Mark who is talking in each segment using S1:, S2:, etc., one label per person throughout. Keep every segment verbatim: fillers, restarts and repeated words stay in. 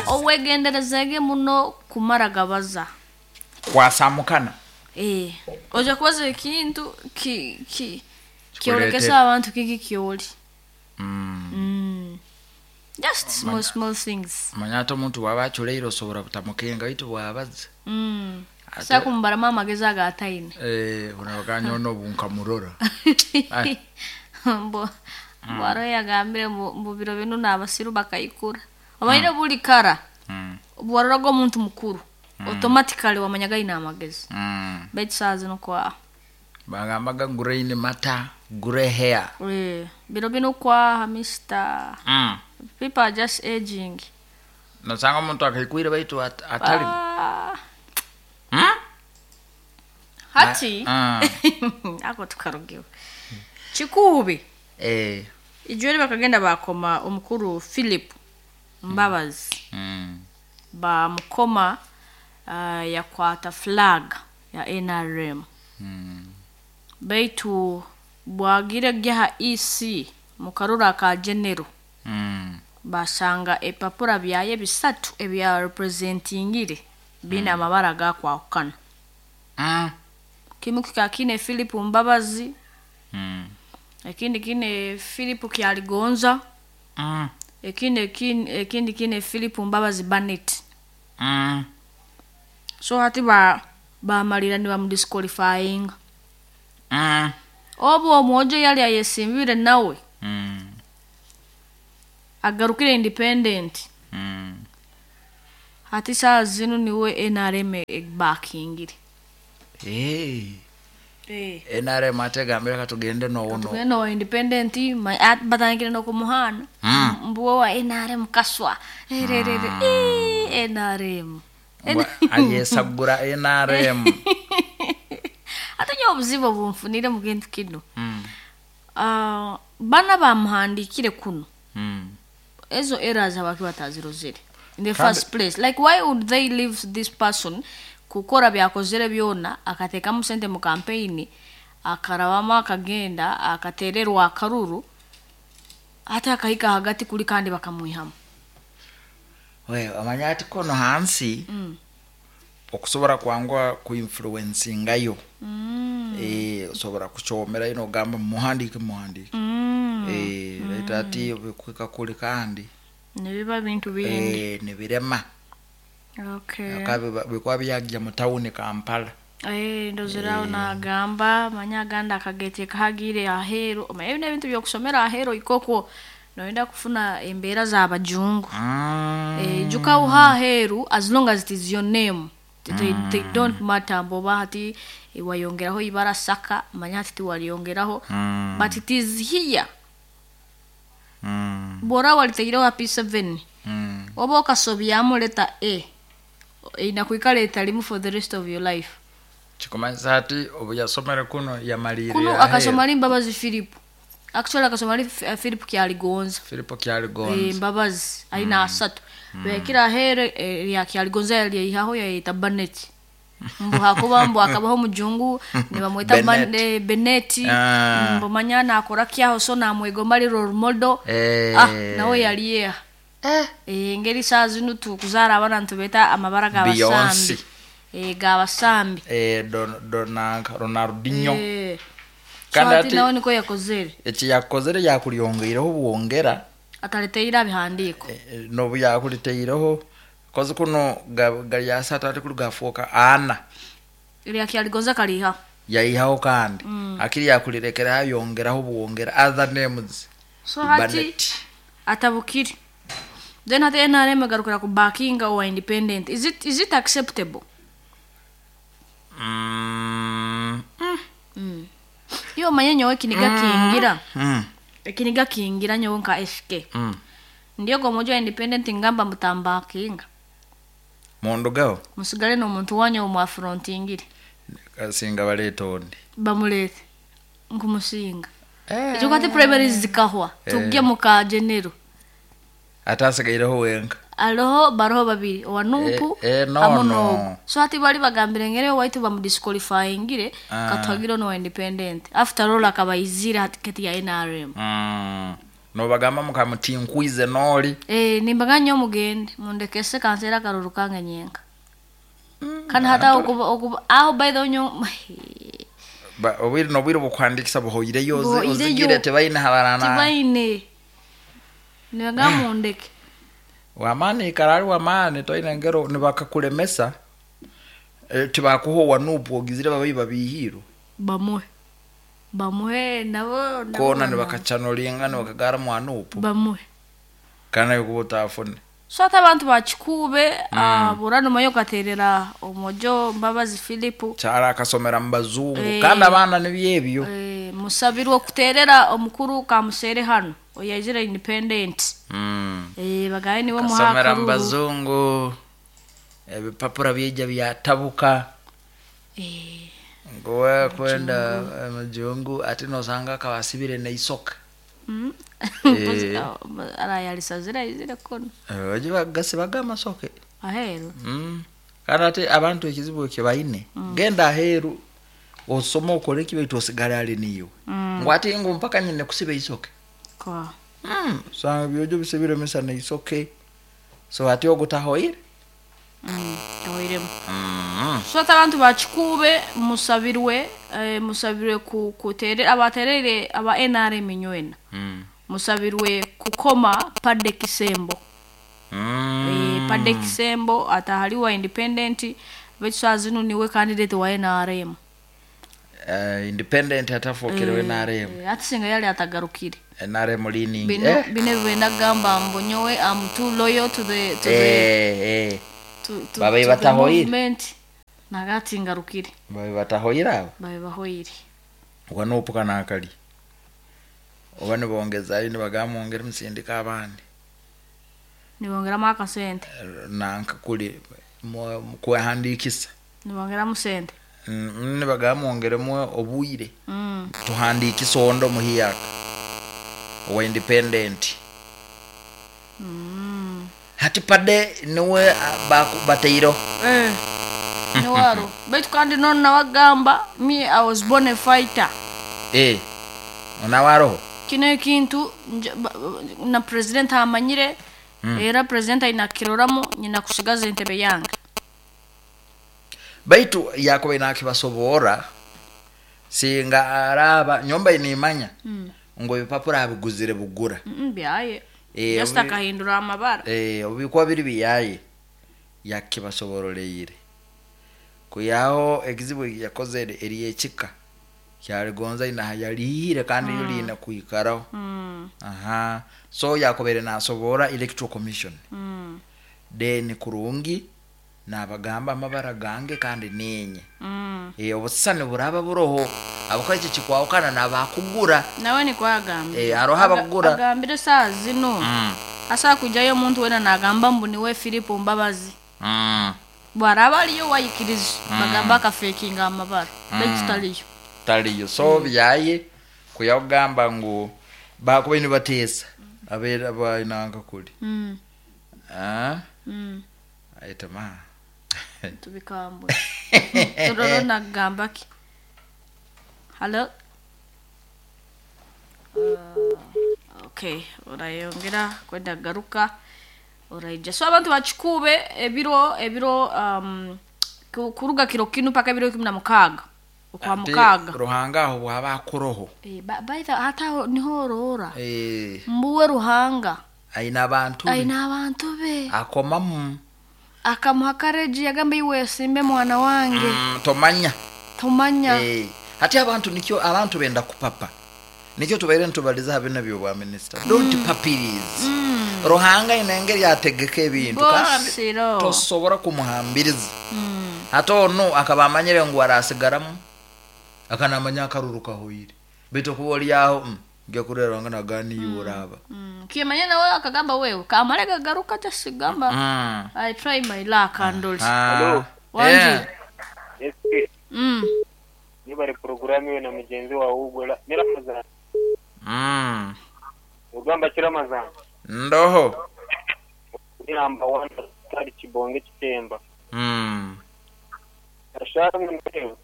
S1: Owegenderezege muno kumara gabaza.
S2: Kwasamukana.
S1: Eh, oja kubaza ekintu ki ki
S2: Kikuleetera.
S1: kyorekesa abantu kiki kyoli.
S2: Mm.
S1: Mm. Just small small things.
S2: Manya ate omuntu bw'aba aculeire osobola butamukenga baitu bw'abaza.
S1: Mm.
S2: Ate-
S1: Sa kumubaramu amagezi agataine.
S2: Eh, unabaganya ono bunkamurora. Ai.
S1: Mbo bwaro yagambire mu mu biro bino n'abasiru bakayikura. Obaire buli kara
S2: Mm.
S1: bwaroraga omuntu mukuru automatically wamanyaga aine amagezi.
S2: Mm.
S1: Baitu saa zino kwa
S2: Bagambaga grain matter, grey hair.
S1: eh, biro bino kwaha mister.
S2: Mm.
S1: People are just aging.
S2: Nosanga omuntu akaikwire baitu at, atali.
S1: Ah,
S2: Mm?
S1: hati
S2: Ah.
S1: ako tukarugiwe kikuubi
S2: Eh.
S1: ijweri bakagenda bakoma omukuru Philip Mbabazi.
S2: Mm.
S1: Bamukoma uh, yakwata flag ya N R M.
S2: Mm.
S1: Baitu bwagire gyaha E C mukarura ka general.
S2: Mm.
S1: Basanga epapura byaye bisatu ebya representingire bina amabara gakwahukana.
S2: Mm.
S1: Kimu kika kine Philip Mbabazi.
S2: Mm.
S1: Ekindi kine Philip Kyaligonza.
S2: Mm.
S1: Ekindi ekindi, ekindi kine Philip Mbabazi Barnett.
S2: Mm.
S1: So hati ba bamalira ni bamudisqualifying.
S2: Mm.
S1: Obo omwojo yali ayesimbire nawe.
S2: Mm.
S1: Agarukire independent.
S2: Mm.
S1: Hati saa zino niwe N R M ebakingire.
S2: Hey.
S1: Eh.
S2: N R M ategambira katugende no uno.
S1: Tugende wa independent ma at batangire no kumuhana.
S2: Mm.
S1: Mbuwe wa N R M kaswa. Ererere.
S2: Mm.
S1: Eh, N R M.
S2: Ayesagura N R M.
S1: Ate nyo obuzibu bumfunire mu kintu kino.
S2: Mm.
S1: Ah, bana bamuhandikire kuno.
S2: Mm.
S1: Ezo errors abaki batazirozere. In the
S2: Kandi
S1: first place, like why would they leave this person kukora byakozere byona akateekamu sente mu campaign akarabama akagenda akatererwa akaruru ate akahika hagati kuli kandi bakamwihamu.
S2: We amanya ati kono hansi
S1: Mm.
S2: okusobola kwangwa kuinfluencingayo.
S1: Mm.
S2: Eh, osobola kukyomera ino ogamba muhandike muhandike.
S1: Mm.
S2: Eh, mm. Ati bikwika kuli kandi
S1: nebiba bintu bindi.
S2: Eh, nibirema.
S1: Okay.
S2: Akabi bikwa byajja mu town Kampala.
S1: Eh, ndozerawo eh. Nagamba manya aganda akagete kahagire aheru. Omanyi bino ebintu by'okusomera aheru ikoko noyenda kufuna embeera z'abajungu.
S2: Mm.
S1: Eh, juka uha aheru as long as it is your name. They,
S2: Mm.
S1: they don't matter mboba hati wayongeraho ibara saka manya hati tiwaliyongeraho.
S2: Mm.
S1: But it is here.
S2: Mm.
S1: Bora walitegireho P seven.
S2: Mm.
S1: Oba okasobyamu letter A. Inakuikala etalimu for the rest of your life.
S2: Kikumanyisa ati obu yasomere kuno yamalirira
S1: Kuno
S2: aheeru.
S1: akasoma ali Mbabazi Philip. Actually akasoma ali F-, Philip Kyaligonza.
S2: Philip Kyaligonza.
S1: Eh, Mbabazi alina
S2: Mm.
S1: asatu.
S2: Mm.
S1: Bekira aheeru, eh, ya Kyaligonza yali yayihaho yayita Barnett. Mbu hakuba mbu akabaho mujungu ne bamweta
S2: Bennett.
S1: Ban-, eh, Bennett.
S2: Ah.
S1: Mbu manya nakora kyaho so namwegomba ali role model.
S2: Eh.
S1: Ah, nawe yali yeha.
S2: Eh.
S1: Eh, engeri saa zino tukuzaara abaana nitubeeta amabara g'abasambi.
S2: Beyonce.
S1: Eh, g'abasambi.
S2: Eh, Don-, Donanka, Ronaldinho.
S1: Eh.
S2: Kandi
S1: So ati
S2: ati
S1: nawe niko yakozere.
S2: Eki yakozere yakulyongeireho bwongera.
S1: Ataleteireho abihandiiko.
S2: Eh, eh, n'obu yakuleteireho kozi kuno ga-, gali asatu ati kuli gafuuka ana.
S1: Erya Kyaligonza kaliihaho.
S2: Yayihaho kandi.
S1: Mm.
S2: Akiri yakulirekeraho ayongeraho bwongera other names.
S1: So hati
S2: Barnett.
S1: atabukire. Then hati N R M egarukira ku backinga owa independent. Is it, is it acceptable?
S2: Mm.
S1: Mm. Iyo manye nyowe ekiniga
S2: Mm.
S1: kingira.
S2: Mm.
S1: Ekiniga kingira nyowe nka S K.
S2: Mm.
S1: Ndiyo gomojo independent ngamba mutambakinga.
S2: Mundugaho?
S1: Musigale n'omuntu wanyu omwafrontingire.
S2: Kasinga baleeta ondi.
S1: Bamulete. Nkumusinga.
S2: Eh.
S1: Ekyo kati primaries zikahwa.
S2: Eh.
S1: Tujje mu ka general.
S2: Ate asigaireho wenka.
S1: Aloho baroho babiri owa Nupu
S2: Eh, eh, no,
S1: hamwe
S2: no.
S1: n'ogu. So hati bali bagambire ngere waitu bamudisqualifyingire
S2: Ah.
S1: katwagire no independent. After all akabayizira hati kati ya N R M.
S2: Mm. Nobagamba mukamutinkwize noli.
S1: Eh, nimbaga nyo mugende mundekese kansera akaruru kange nyenka. Kandi hata okuba okuba aho by the way nyo
S2: Ba- obwire nobwire bukwandikisa buhoireyo ozi-
S1: Buhoireyo.
S2: ozigire tebaine habarana.
S1: Tibaine. Nibaga mundeke.
S2: Wamani ikarari wamani toine ngero nibakakulemesa, eh, tibakuhowa nupu ogizire babai babihirwe.
S1: Bamuhe. Bamuhe nabo nabo
S2: Kona
S1: bana-
S2: nibakachanolinga nibakagara mwanupu.
S1: Bamuhe.
S2: Kana yokuba utafune.
S1: So ate abantu bakikube mm. Burano mayo katerera omojo Mbabazi Philip.
S2: Kyara akasomera mu bazungu.
S1: Eh.
S2: Kandi abaana nibyebyo.
S1: Eh, musabirwe okuterera omukuru kamusere hano oyazira independent.
S2: Mm.
S1: Eh, bagaye niwe
S2: Kasomera mu
S1: muhakaruru.
S2: bazungu, ebipapura byija byatabuka.
S1: Eh,
S2: Ngowe kwenda mujungu ati nosanga akabasibire neisoka.
S1: mm.
S2: Eh.
S1: Arayalisa zira izire kono.
S2: Baje bagasibaga amasoke.
S1: Aheru.
S2: Mm. Kandi ate abantu ekizibu ekyo baine. Genda aheru osome okole ki baitu osigale ali niyo.
S1: Mm.
S2: Ngu ate ngu mpaka nyine kusiba isoke.
S1: Kwa.
S2: Mm. Sanga byojo bisibire misa neisoke. So ate ogutahoire.
S1: Mm. Oiremu.
S2: Mm.
S1: So ate abantu bakikube musabirwe, eh, musabirwe ku kuterera abaterere aba N R M nywena.
S2: Mm.
S1: Musabirwe kukoma Padde Kisembo.
S2: Mm.
S1: Eh, Padde Kisembo atahaliwa independent betu zinu niwe candidate wa N R M.
S2: Uh, independent atafokere eh, N R M.
S1: Eh, ati singa yali atagarukire.
S2: N R M leaning.
S1: Bino
S2: eh.
S1: bino benda gamba mbonyowe I'm too loyal to the to the
S2: Eh, eh.
S1: to, to,
S2: Babe
S1: to the
S2: batahoire.
S1: movement. Nagati ngarukire.
S2: Babe batahoire abo.
S1: Babe bahoire.
S2: Wanopuka nakali. Oba nibongezayo nibagamba mwongere musindika abandi.
S1: Nibongeramu akasente.
S2: Nanka kuli kwehandikisa.
S1: Nibongeramu sente.
S2: Mm, nibagamba mwongeremu obwire.
S1: Mm.
S2: Tuhandikise ondo muhiyaka. Owa independent.
S1: Mm.
S2: Hati pade niwe bateiro.
S1: Eh. Niwaro. Baitu kandi none nawagamba me I was born a fighter.
S2: Eh. Onawaro.
S1: Kino ekintu na president amanyire. Mm. Era president ayinakiroramu nyina kusigaza entebe yange.
S2: Baitu yakobe nakibasobora singa araba nyomba inimanya. Mm. Ngo ibipapura abiguzire bugura.
S1: Mm, byaye. Eh, just akahindura amabara.
S2: Eh, obikwa biri biyaye yakibasoboroleyire. Kuyaho ekizibu yakoze eri ekika kyaligonza ina yalihire kandi mm. yulina kuikaraho.
S1: Mm.
S2: Aha. So yakobere nasobora electoral commission.
S1: Mm.
S2: Then kurungi nabagamba amabara gange kandi nenye.
S1: Mm.
S2: Eh, obusane buraba buroho abakoze kikwawukana nabakugura.
S1: Nawe ni kwagamba.
S2: Eh, aroha abakugura.
S1: Agambire saa zino.
S2: Mm.
S1: Asa kujayo omuntu wena nagamba mbu niwe Philip Mbabazi.
S2: Mm.
S1: Bwaraba aliyo wayikiriza. Mm. Bagamba akafekinga amabara. Mm. Bekitaliyo.
S2: Taliyo. So mm. byaye kuyagamba ngu bakuba nibatesa. Abera bayinanga kuli.
S1: Mm.
S2: Ah?
S1: Mm.
S2: Aitama.
S1: Tubikambwe. Turoro nagamba ki? Hello. Uh, okay, orayongera kwenda garuka. Oraija. So abantu bakikube ebiro ebiro um kuruga kiro kinu paka ebiro ikumi na mukaga. Okwa mukaga.
S2: Ruhanga aho bwaba akuroho.
S1: Eh, by the hata niho orora.
S2: Eh.
S1: Mbuwe Ruhanga.
S2: Aina abantu.
S1: Aina abantu be.
S2: Akomamu.
S1: Akamuha courage yagamba iwe simbe mwana wange.
S2: Mm, tomanya.
S1: Tomanya.
S2: Eh, hati abantu nikyo abantu benda kupapa. Nikyo tubaire ntubaliza habina byo bwa minister. Don't mm. papirize.
S1: Mm.
S2: Ruhanga inengeri yategeka ebintu kandi tosobora kumuhambiriza.
S1: Mm.
S2: Hata ono akabamanyire ngu arasigaramu akanamanya akaruruka hoyire. Bito kuboli yaho mm. ngiye kurera ngana gani yoraba.
S1: Mm. Kimanya nawe akagamba wewe kamare gagaruka tasigamba.
S2: Mm.
S1: I try my luck and all.
S2: Hello.
S1: Wanji.
S2: Yeah.
S3: Yes.
S1: Mm.
S3: Niba programu we na mugenzi wawe ugola ni Ramazan.
S2: Mm.
S3: Ugamba ki Ramazan?
S2: Ndoho.
S3: Ni number one kari kibonge kitemba.
S2: Mm.
S3: Ashaka mwewe.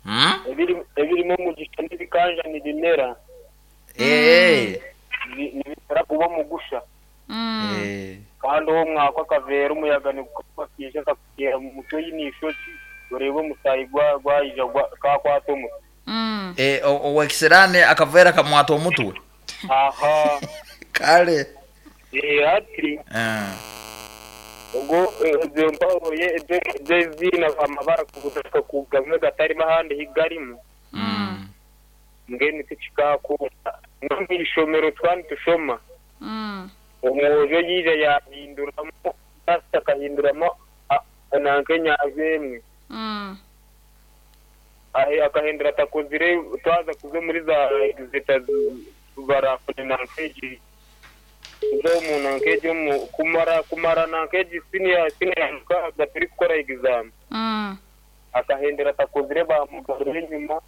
S2: Mm.
S3: Ebiri ebirimo mugisha n'ibikanja nibimera.
S2: Eh.
S3: Nibitera kuba omugusha.
S1: Mm.
S2: Eh.
S3: Kandi uwo mwaka akavera umuyaga nigukakiija kakutera mu mutwe y'ishoki urebe omusayi gwa gwayija gwa- kakwata omutwe.
S1: Mm.
S2: Eh, o- owekisirani akavera kamwata omutwe.
S3: Aha.
S2: Kale.
S3: Eh ati
S2: Eh.
S3: ubwo izo mpaho ye zina amabara kugutuka kugamwe gatarimo ahandi higarimo.
S1: Mm.
S3: Ngeni tikikakunda no mwishomero twani tushoma.
S1: Mm.
S3: Omwojo yija yahinduramo basi akahinduramo nanke nyazemwe.
S1: Mm.
S3: Ahe akahindura atakozire twaza kuze muri za exita barafune nankeji zo mu nankeji mu kumara kumara nankeji senior senior mukaga turi gukora exam.
S1: Mm.
S3: Akahindura atakozire bamugarura inyuma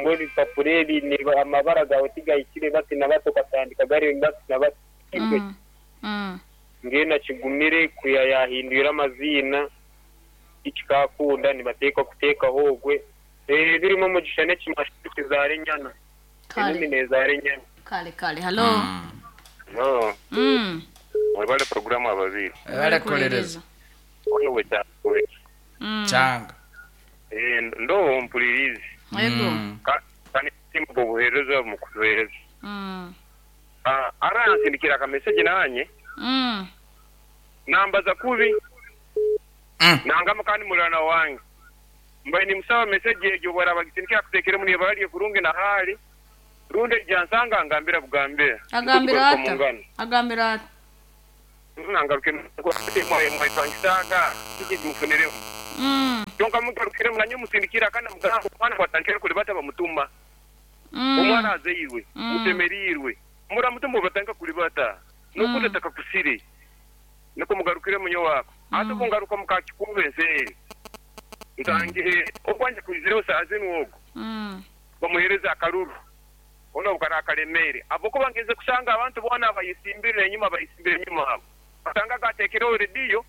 S3: ngo ibipapuro ebi ni amabara gawe tigayikire bati na bato katandika gari bati na bati.
S1: Mm. Mm.
S3: Ngena kigumire kuya yahindura amazina ikikakunda nibateekwa kuteekaho ogwe eh birimo mugisha n'ekimashu kizare nyana
S1: Kale.
S3: enimi nezare nyana.
S1: Kale kale. Hello.
S4: No,
S1: Mm.
S4: mwebale programu ababiri.
S2: Bale kulereza.
S4: Ono we kyakwe.
S1: Mm.
S2: Changa.
S4: Eh ndo mpulirizi.
S1: Yego.
S4: Ka kani simbo buhereza mu kuhereza.
S1: Mm.
S4: Ah aransindikira ka message nanye
S1: Mm.
S4: nambaza kubi
S2: Mm.
S4: nangama kandi mulana wange. Mbaye ni musawa message egyo bwara bagisindikira kutekere muri bali kurungi na hali. Runde jansanga ngambira bugambira.
S1: Agambira ata. Agambira ata.
S4: Nangaruke ko mwaye mwaye twangisaga kiki mufuniremo.
S1: Mm.
S4: Kyonka mugarukire munanye musindikira kandi mugamba mwana kwatandikira kuri bata bamutuma.
S1: Mm.
S4: Omwana aze iwe
S1: Mm.
S4: mutemerirwe muramutuma batanga kuri bata nokuti
S1: Mm.
S4: takakusire niko mugarukire munyo wako ate bungaruka mukakikube nseri ntangihe okwanja kuizireho saa zinu ogo
S1: Mm.
S4: bamuhereza akaruru ono bukara akaremere abo ko bangeze kusanga abantu bona bayisimbire enyuma bayisimbire enyuma abo basanga gatekereho rediyo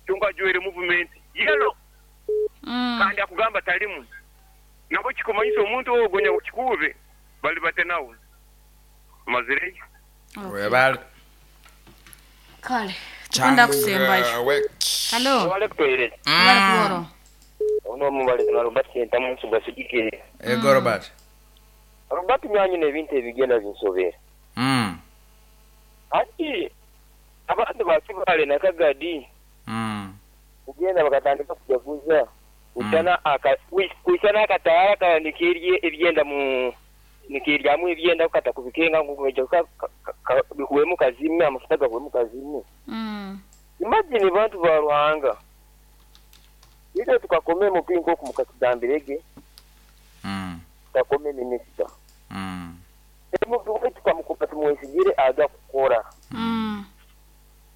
S4: kyonka ajwere movement yelo.
S1: Mm.
S4: Kandi akugamba talimu nabo kikumanyisa omuntu ogo nya kikube bali bate nawe mazireyo.
S1: Okay.
S2: Webale.
S1: Kale. Tukunda kusembayo. Hello.
S3: Wale kutohereza.
S1: Bale kuworo.
S3: Ono mubale na Robert Senta munsi gwasigikire.
S2: Ego Robert.
S3: Robert nyanyi n'ebintu ebigenda binsobera.
S2: Mm.
S3: Ati abantu bakibale nakagadi.
S2: Mm.
S3: Kugenda bakatandika kujaguza. Usana aka kusana akatara kanikirye ebyenda mu nikiryamu ebyenda kukata kubikenga ngugejo ka bikuwemu kazimwe amafuta gakuwemu kazimwe.
S1: Mm.
S3: Imagine bantu ba Ruhanga. Ite tukakome mu pinko kumukatugambirege.
S2: Mm.
S3: Tukakome minister.
S2: Mm.
S3: Emu tukamukupa tumwesigire aga kukora.
S1: Mm.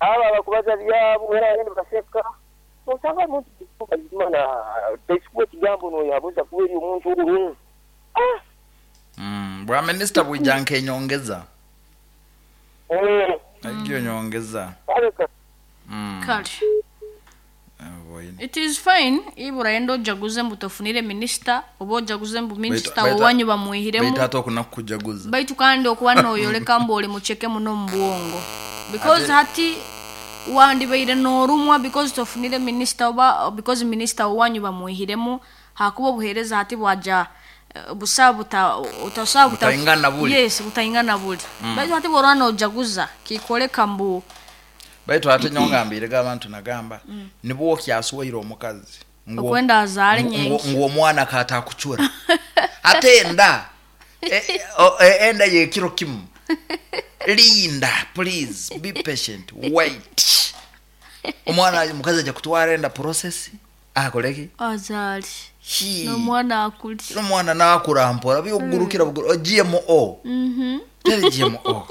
S3: Aba bakubaza byabo era yende baseka. Osanga muntu kuzimana tesikuwe kigambo no yabuza kuberi omuntu uru. Ah.
S2: Mm. Bwa minister bwijanke nyongeza.
S3: Eh.
S2: Agiyo nyongeza.
S3: Aleka.
S2: Mm.
S1: Kale.
S2: Boyini.
S1: It is fine ibura endo ojaguze mbu tofunire minister oba ojaguze mbu minister
S2: Baitu-
S1: owanyu bamwihiremu.
S2: Baitu ate okunakujaguza.
S1: Baitu kandi okuba noyoleka mbu oli mucheke muno mu bwongo. Because hati wandibaire n'orumwa because tofunire minister oba because minister owanyu bamwihiremu hakuba obuheereza hati bwaja eh, busa buta utasa buta
S2: Butaingana buli.
S1: Yes, butaingana buli. Baitu hati bw'orwa n'ojaguza kikoleka mbu
S2: Baitu ate nyongambire abantu nagamba nibwo kyaswaire omukazi. Ngo-
S1: okwenda azaale
S2: ngo-
S1: nyenki.
S2: ngo omwana katakuchura. Ate enda e, o- e, enda yekiro kimu. Linda, please be patient, wait. Omwana mukazi aja kutwara enda process akoleki
S1: Azaale.
S2: Hi.
S1: N'omwana akuli.
S2: N'omwana nakura mpora byogurukira buguru G M O.
S1: Mhm.
S2: Teri G M O.